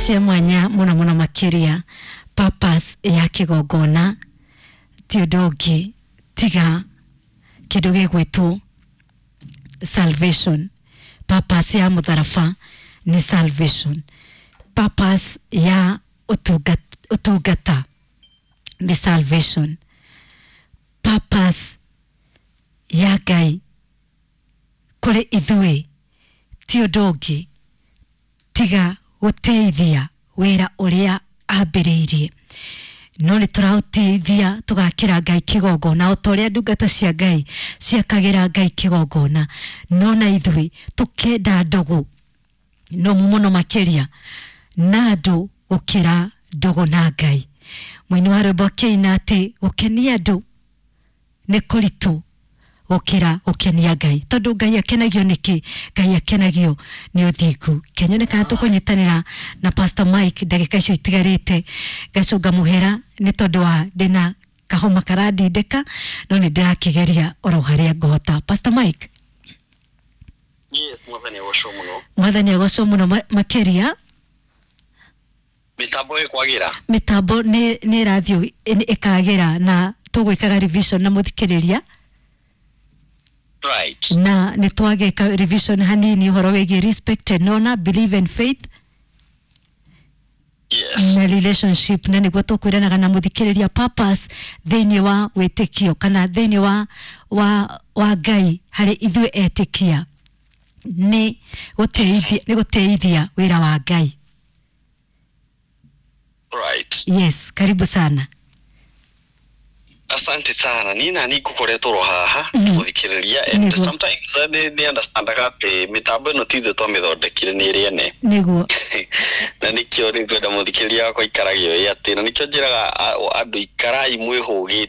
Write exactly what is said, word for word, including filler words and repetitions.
Cia mwanya mũno mũno makĩria. Purpose ya kĩgongona ti ũndũ ũngĩ tiga kĩndũ gĩgwĩtwo salvation. Purpose ya mũtharaba nĩ salvation. Purpose ya ũtungat- ũtungata nĩ salvation. Purpose ya Ngai kũrĩ ithuĩ ti ũndũ ũngĩ tiga gũteithia wĩra ũrĩa ambĩrĩirie, no nĩ tũraũteithia tũgakĩra Ngai kĩgongona o ta ũrĩa ndungata cia Ngai ciakagĩra Ngai kĩgongona, no na ithuĩ tũkenda ndũgũ no mũno makĩria na andũ gũkĩra ndũgũ na Ngai. Mũini wa rwĩmbo akĩina atĩ gũkenia andũ nĩ kũritũ gũkĩra gũkenia Ngai, tondũ Ngai akenagio nĩkĩ? Ngai akenagio nĩ ũthingu. Kenyone kana tũkũnyitanĩra na Pastor Mike ndagĩka icio itigarĩte. Ngacũnga mũhera nĩ tondũ wa ndĩna kahoma karandindĩka, no nĩ ndĩrakĩgeria oro harĩa ngũhota. Pastor Mike. Yes, Mwathani agocwo mũno. Mwathani agocwo mũno ma- makĩria. Mĩtambo ĩkwagĩra. Mĩtambo nĩ nĩ ĩrathiĩ ĩkagĩra na tũgwĩkaga revision na mũthikĩrĩria. Right. Na nĩ twagĩka revision hanini ũhoro wĩgiĩ respect and honor, belief and faith Yes. na relationship, na nĩguo tũkwĩranaga na mũthikĩrĩria purpose thĩinĩ wa wĩtĩkio kana thĩinĩ wa, wa, wa Ngai harĩ ithuĩ etĩkia nĩ gũteithia nĩ gũteithia wĩra wa Ngai. Right. Yes, karibu sana. Asante sana. Ni nani ngũkoretwo ro haha Mhm. gũthikĩrĩria, and Nĩguo. sometimes eh, nĩ nĩ understandaga atĩ mĩtambo ĩno ti ithuĩ twamĩthondekire, nĩ ĩrĩ ene. Nĩguo. Na nĩkĩo rĩu ngwenda mũthikĩrĩria wakwa aikarage ũĩ atĩ na nĩkĩo njĩraga a- andũ ikarai mwĩhũgĩte.